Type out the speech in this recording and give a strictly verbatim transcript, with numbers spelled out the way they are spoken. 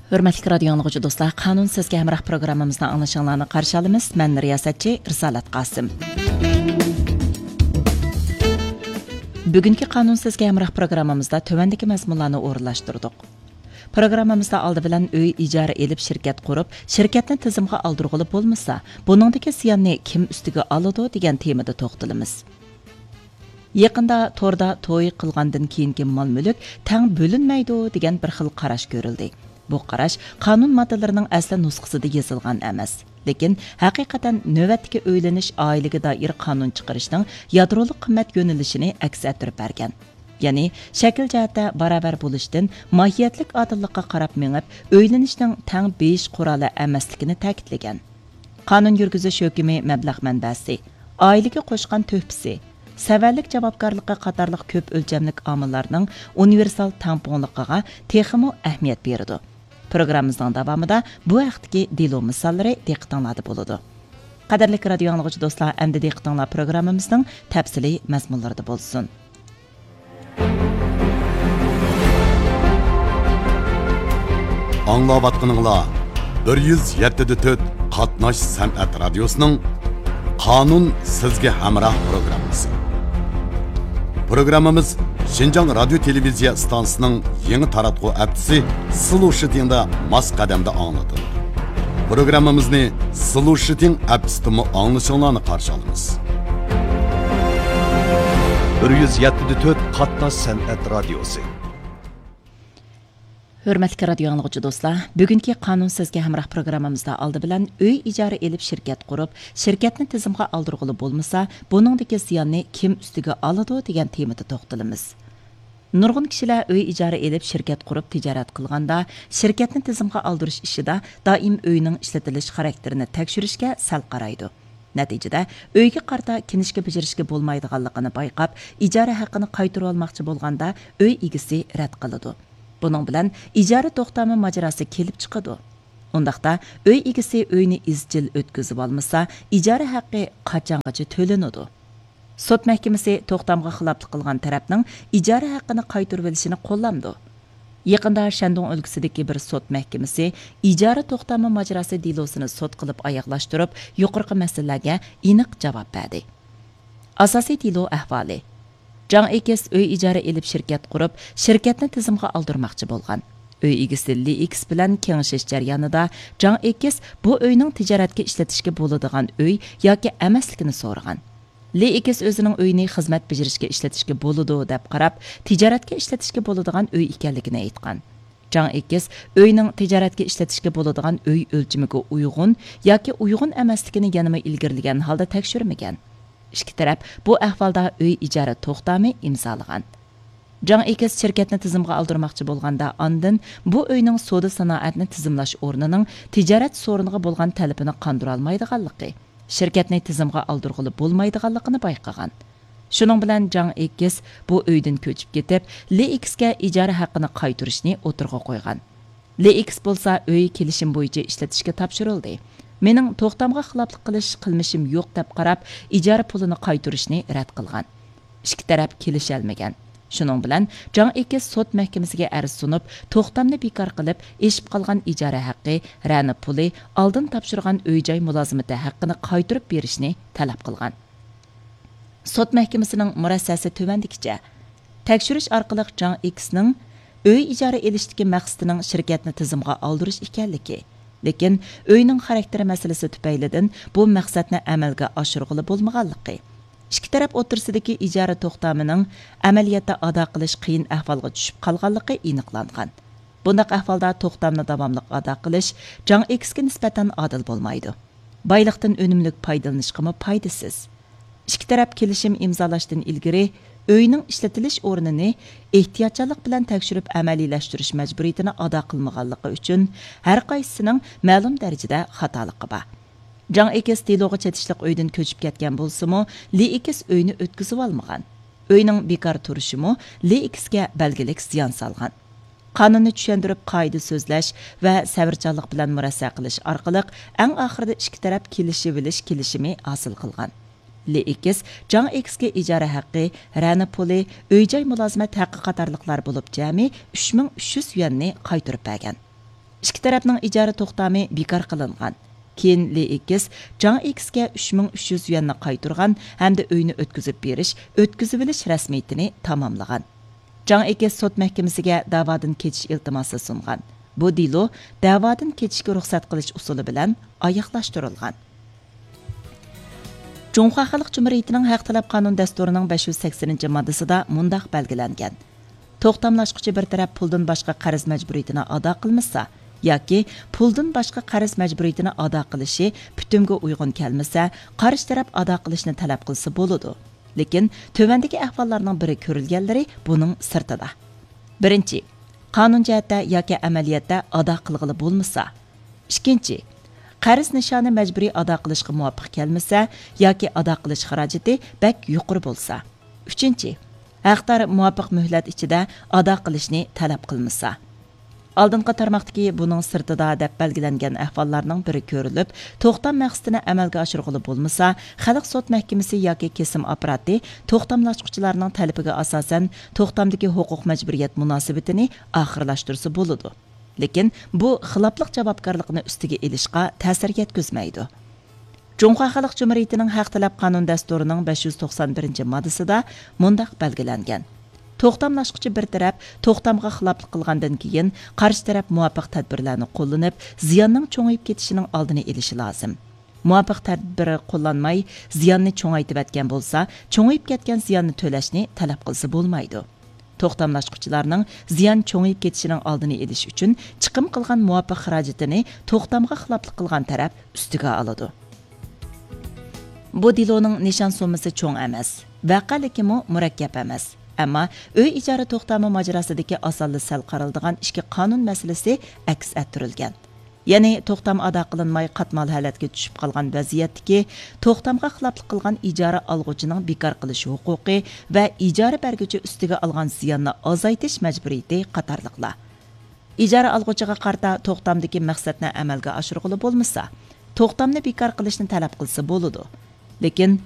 ھۆرمەتلىك رادىيو ئاڭلىغۇچى دوستلار، قانۇن سىزگە ھەمراھ پروگراممىمىزنى ئاڭلىشىڭلارنى قارشى ئالىمىز. مەن رىياسەتچى رىسالەت قاسىم. بۈگۈنكى قانۇن سىزگە ھەمراھ پروگراممىمىزدا تۆۋەندىكى مەزمۇنلارنى ئورۇنلاشتۇردۇق. پروگراممىمىزدا ئالدى بىلەن ئۆي ئىجارە ئېلىپ شىركەت قۇرۇپ، شىركەتنى تىزىمغا ئالدۇرغىلى بولمىسا، بۇنىڭدىكى زىياننى كىم ئۈستىگە ئالىدۇ دېگەن تېمىدا توختىلىمىز. يېقىندا توردا توي قىلغاندىن كېيىنكى مال-مۈلۈك تەڭ بۆلۈنمەيدۇ دېگەن بىر خىل قاراش كۆرۈلدى. بۇ قاراش قانۇن ماددىلىرىنىڭ ئەسلى نۇسخىسىدا يېزىلغان ئەمەس، لېكىن ھەقىقەتەن نۆۋەتتىكى ئۆيلىنىش، ئائىلىگە دائىر قانۇن چىقىرىشنىڭ يادرولۇق قىممەت يۆنىلىشىنى ئەكس ئەتتۈرۈپ بەرگەن. يەنى شەكىل جەھەتتە باراۋەر بولۇشتىن ماھىيەتلىك ئادىللىققا قاراپ مېڭىپ، ئۆيلىنىشنىڭ تەڭ بېيىش قورالى ئەمەسلىكىنى تەكىتلىگەن. قانۇن يۈرگۈزۈش ھۆكمى مەبلەغ مەنبەسى، ئائىلىگە قوشقان تۆھپىسى، سەۋەنلىك جاۋابكارلىقى قاتارلىق كۆپ ئۆلچەملىك ئامىللارنىڭ ئۇنىۋېرسال تەڭپۇڭلۇقىغا تېخىمۇ ئەھمىيەت بېرىدۇ. پروگراممىمىزنىڭ داۋامىدا بۇ ھەقتىكى دېلو مىساللىرى دىققىتىڭلاردا بولىدۇ. قەدىرلىك رادىيو ئاڭلىغۇچى دوستلار، ئەمدى دىققىتىڭلار پروگراممىمىزنىڭ تەپسىلىي مەزمۇنلىرىدا بولسۇن. ئاڭلاۋاتقىنىڭلار بىر يۈز يەتتە دە تۆت قاتناش سەنئەت رادىيوسىنىڭ قانۇن سىزگە ھەمراھ پروگراممىسى. پروگراممىمىز شىنجاڭ رادىيو تېلېۋىزىيە ئىستانسىسىنىڭ يېڭى تاراتقۇ ئەپچىسى سلۇشىتىڭدا ماس قەدەمدە ئاڭلىتىلىدۇ. پروگراممىمىزنى سلۇشىتىڭ ئەپچىسىدىمۇ ئاڭلىشىڭلارنى قارشى ئالىمىز. بىر يۈز يەتتە دە تۆت قاتناش سەنئەت رادىيوسى. ھۆرمەتلىك رادىيو ئاڭلىغۇچى دوستلار، بۈگۈنكى قانۇن سىزگە ھەمراھ پروگراممىمىزدا ئالدى بىلەن ئۆي ئىجارە ئېلىپ شىركەت قۇرۇپ، شىركەتنى تىزىمغا ئالدۇرغىلى بولمىسا، بۇنىڭدىكى زىياننى كىم ئۈستىگە ئالىدۇ دېگەن تېمىدا توختىلىمىز. نۇرغۇن كىشىلەر ئۆي ئىجارە ئېلىپ شىركەت قۇرۇپ تىجارەت قىلغاندا، شىركەتنى تىزىمغا ئالدۇرۇش ئىشىدا دائىم ئۆينىڭ ئىشلىتىلىش خاراكتېرىنى تەكشۈرۈشكە سەل قارايدۇ. نەتىجىدە، ئۆيگە قارىتا كىنىشكا بېجىرىشكە بولمايدىغانلىقىنى بايقاپ، ئىجارە ھەققىنى قايتۇرۇۋالماقچى بولغاندا، ئۆي ئىگىسى رەت قىلىدۇ. بۇنىڭ بىلەن ئىجارە توختامى ماجىراسى كېلىپ چىقىدۇ. ئۇنداقتا، ئۆي ئىگىسى ئۆينى ئىزچىل ئۆتكۈزۈۋالمىسا، ئىجارە ھەققى قاچانغىچە تۆلىنىدۇ؟ سوت مەھكىمىسى توختامغا خىلاپلىق قىلغان تەرەپنىڭ ئىجارە ھەققىنى قايتۇرۇۋېلىشىنى قوللامدۇ؟ يېقىندا شەندۇڭ ئۆلكىسىدىكى بىر سوت مەھكىمىسى ئىجارە توختامى ماجىراسى دېلوسىنى سوت قىلىپ ئاياغلاشتۇرۇپ، يۇقىرىقى مەسىلىلەرگە ئېنىق جاۋاب بەردى. ئاساسىي دېلو ئەھۋالى. جاڭ ئېكىس ئۆي ئىجارە ئېلىپ شىركەت قۇرۇپ، شىركەتنى تىزىمغا ئالدۇرماقچى بولغان. ئۆي ئىگىسى لى ئېكىس بىلەن كېڭىشىش جەريانىدا جاڭ ئېكىس بۇ ئۆينىڭ تىجارەتكە ئىشلىتىشكە بولىدىغان ئۆي ياكى ئەمەسلىكىنى سورىغان. لى ئېكىس ئۆزىنىڭ ئۆيىنى خىزمەت بېجىرىشكە ئىشلىتىشكە بولىدۇ دەپ قاراپ، تىجارەتكە ئىشلىتىشكە بولىدىغان ئۆي ئىكەنلىكىنى ئېيتقان. جاڭ ئېكىس ئۆينىڭ تىجارەتكە ئىشلىتىشكە بولىدىغان ئۆي ئۆلچىمىگە ئۇيغۇن ياكى ئۇيغۇن ئەمەسلىكىنى يەنىمۇ ئىلگىرىلىگەن ھالدا تەكشۈرمىگەن. ئىككى تەرەپ بۇ ئەھۋالدا ئۆي ئىجارە توختامى ئىمزالىغان. جاڭ ئېكىس شىركەتنى تىزىمغا ئالدۇرماقچى بولغاندا، ئاندىن بۇ ئۆينىڭ سودا سانائەتنى تىزىملاش ئورنىنىڭ تىجارەت سورۇنىغا بولغان تەلىپىنى قاندۇرالمايدىغانلىقى، شىركەتنى تىزىمغا ئالدۇرغىلى بولمايدىغانلىقىنى بايقىغان. شۇنىڭ بىلەن جاڭ ئېكىس بۇ ئۆيدىن كۆچۈپ كېتىپ، لى ئېكىسكە ئىجارە ھەققىنى قايتۇرۇشنى ئوتتۇرىغا قويغان. لى ئېكىس بولسا ئۆي كېلىشىم بويىچە ئىشلىتىشكە تاپشۇرۇلدى. مېنىڭ توختامغا خىلاپلىق قىلىش قىلمىشىم يوق دەپ قاراپ، ئىجارە پۇلىنى قايتۇرۇشنى رەت قىلغان. ئىككى تەرەپ كېلىشەلمىگەن. شۇنىڭ بىلەن جاڭ ئېكىس سوت مەھكىمىسىگە ئەرز سۇنۇپ، توختامنى بىكار قىلىپ، ئېشىپ قالغان ئىجارە ھەققى، رەنە پۇلى، ئالدىن تاپشۇرغان ئۆي-جاي مۇلازىمىتى ھەققىنى قايتۇرۇپ بېرىشنى تەلەپ قىلغان. سوت مەھكىمىسىنىڭ مۇرەسسەسى تۆۋەندىكىچە. تەكشۈرۈش ئارقىلىق جاڭ ئېكىسنىڭ ئۆي ئىجارە ئېلىشتىكى مەقسىتىنىڭ شىركەتنى تىزىمغا ئالدۇرۇش ئىكەنلىكى، لېكىن ئۆينىڭ خاراكتېرى مەسىلىسى تۈپەيلىدىن بۇ مەقسەتنى ئەمەلگە ئاشۇرغىلى بولمىغانلىقى، ئىككى تەرەپ ئوتتۇرىسىدىكى ئىجارە توختامىنىڭ ئەمەلىيەتتە ئادا قىلىش قىيىن ئەھۋالغا چۈشۈپ قالغانلىقى ئېنىقلانغان. بۇنداق ئەھۋالدا توختامنى داۋاملىق ئادا قىلىش جاڭ ئېكىسكە نىسبەتەن ئادىل بولمايدۇ. بايلىقتىن ئۈنۈملۈك پايدىلىنىشقىمۇ پايدىسىز. ئىككى تەرەپ كېلىشىم ئىمزالاشتىن ئىلگىرى ئۆينىڭ ئىشلىتىلىش ئورنىنى ئېھتىياتچانلىق بىلەن تەكشۈرۈپ ئەمەلىيلەشتۈرۈش مەجبۇرىيىتىنى ئادا قىلمىغانلىقى ئۈچۈن ھەر قايسىسىنىڭ مەلۇم دەرىجىدە خاتالىقى بار. جاڭ ئېكىس دېلوغا چېتىشلىق ئۆيدىن كۆچۈپ كەتكەن بولسىمۇ، لى ئېكىس ئۆينى ئۆتكۈزۈۋالمىغان. ئۆينىڭ بىكار تۇرۇشىمۇ لى ئېكىسكە بەلگىلىك زىيان سالغان. قانۇننى چۈشەندۈرۈپ، قائىدە سۆزلەش ۋە سەۋرچانلىق بىلەن مۇرەسسە قىلىش ئارقىلىق ئەڭ ئاخىرىدا ئىككى تەرەپ كېلىشىۋېلىش كېلىشىمى ھاسىل قىلغان. لى ئېكىس جاڭ ئېكىسكە ئىجارە ھەققى، رەنە پۇلى، ئۆي-جاي مۇلازىمەت ھەققى قاتارلىقلار بولۇپ جەمئىي ئۈچ مىڭ ئۈچ يۈز يۈەننى قايتۇرۇپ بەرگەن. ئىككى تەرەپنىڭ ئىجارە توختامى بىكار قىلىنغان. كېيىن لېئېكس جاڭ ئېكسكە ئۈچ مىڭ ئۈچ يۈز يۈەننى قايتۇرغان ھەمدە ئۆينى ئۆتكۈزۈپ بېرىش، ئۆتكۈزۈۋېلىش رەسمىيىتىنى تاماملىغان. جاڭ ئېكس سوت مەھكىمىسىگە دەۋادىن كېچىش ئىلتىماسى سۇنغان. بۇ دېلو دەۋادىن كېچىشكە رۇخسەت قىلىش ئۇسۇلى بىلەن ئاياغلاشتۇرۇلغان. جۇڭخۇا خەلق جۇمھۇرىيىتىنىڭ ھەق تەلەپ قانۇن دەستۇرىنىڭ بەش يۈز سەكسىنىنچى ماددىسىدا مۇنداق بەلگىلەنگەن: توختاملاشقۇچى بىر تەرەپ پۇلدىن باشقا قەرز مەجبۇرىيىتىنى ئادا قىلمىسا ياكى پۇلدىن باشقا قەرز مەجبۇرىيىتىنى ئادا قىلىشى پۈتۈمگە ئۇيغۇن كەلمىسە، قارشى تەرەپ ئادا قىلىشنى تەلەپ قىلسا بولىدۇ. لېكىن تۆۋەندىكى ئەھۋاللارنىڭ بىرى كۆرۈلگەنلىرى بۇنىڭ سىرتىدا. بىرىنچى، قانۇن جەھەتتە ياكى ئەمەلىيەتتە ئادا قىلغىلى بولمىسا. ئىككىنچى، قەرز نىشانى مەجبۇرىي ئادا قىلىشقا مۇۋاپىق كەلمىسە ياكى ئادا قىلىش خىراجىتى بەك يۇقىرى بولسا. ئۈچىنچى، ھەقدار مۇۋاپىق مۆھلەت ئىچىدە ئادا قىلىشنى تەلەپ قىلمىسا. ئالدىنقى تارماقتىكى بۇنىڭ سىرتىدا دەپ بەلگىلەنگەن ئەھۋاللارنىڭ بىرى كۆرۈلۈپ، توختام مەقسىتىنى ئەمەلگە ئاشۇرغىلى بولمىسا، خەلق سوت مەھكىمىسى ياكى كېسىم ئاپپاراتى توختاملاشقۇچىلارنىڭ تەلىپىگە ئاساسەن توختامدىكى ھوقۇق مەجبۇرىيەت مۇناسىۋىتىنى ئاخىرلاشتۇرسا بولىدۇ. لېكىن بۇ خىلاپلىق جاۋابكارلىقىنى ئۈستىگە ئېلىشقا تەسىر يەتكۈزمەيدۇ. جۇڭخۇا خەلق جۇمھۇرىيىتىنىڭ ھەق تەلەپ قانۇن دەستۇرىنىڭ بەش يۈز توقسان بىرىنچى ماددىسىدا مۇنداق بەلگىلەنگەن: توختاملاشقۇچى بىر تەرەپ توختامغا خىلاپلىق قىلغاندىن كېيىن، قارشى تەرەپ مۇۋاپىق تەدبىرلەرنى قوللىنىپ، زىياننىڭ چوڭىيىپ كېتىشىنىڭ ئالدىنى ئېلىشى لازىم. مۇۋاپىق تەدبىر قوللانماي، زىياننى چوڭايتىۋەتكەن بولسا، چوڭىيىپ كەتكەن زىياننى تۆلەشنى تەلەپ قىلسا بولمايدۇ. توختاملاشقۇچىلارنىڭ زىيان چوڭىيىپ كېتىشىنىڭ ئالدىنى ئېلىش ئۈچۈن چىقىم قىلغان مۇۋاپىق خىراجىتىنى توختامغا خىلاپلىق قىلغان تەرەپ ئۈستىگە ئالىدۇ. بۇ دېلونىڭ نىشان سوممىسى چوڭ ئەمەس، ۋەقەلىكىمۇ مۇرەككەپ ئەمەس. ئەمما ئۆي ئىجارە توختامى ماجىراسىدىكى ئاسانلا سەل قارىلىدىغان ئىككى قانۇن مەسىلىسى ئەكس ئەتتۈرۈلگەن. يەنى توختام ئادا قىلىنماي قاتمال ھالەتكە چۈشۈپ قالغان ۋەزىيەتتىكى توختامغا خىلاپلىق قىلغان ئىجارە ئالغۇچىنىڭ بىكار قىلىش ھوقۇقى ۋە ئىجارە بەرگۈچى ئۈستىگە ئالغان زىياننى ئازايتىش مەجبۇرىيىتى قاتارلىقلار. ئىجارە ئالغۇچىغا قارىتا توختامدىكى مەقسەتنى ئەمەلگە ئاشۇرغىلى بولمىسا، توختامنى بىكار قىلىشنى تەلەپ قىلسا بولىدۇ. لېكىن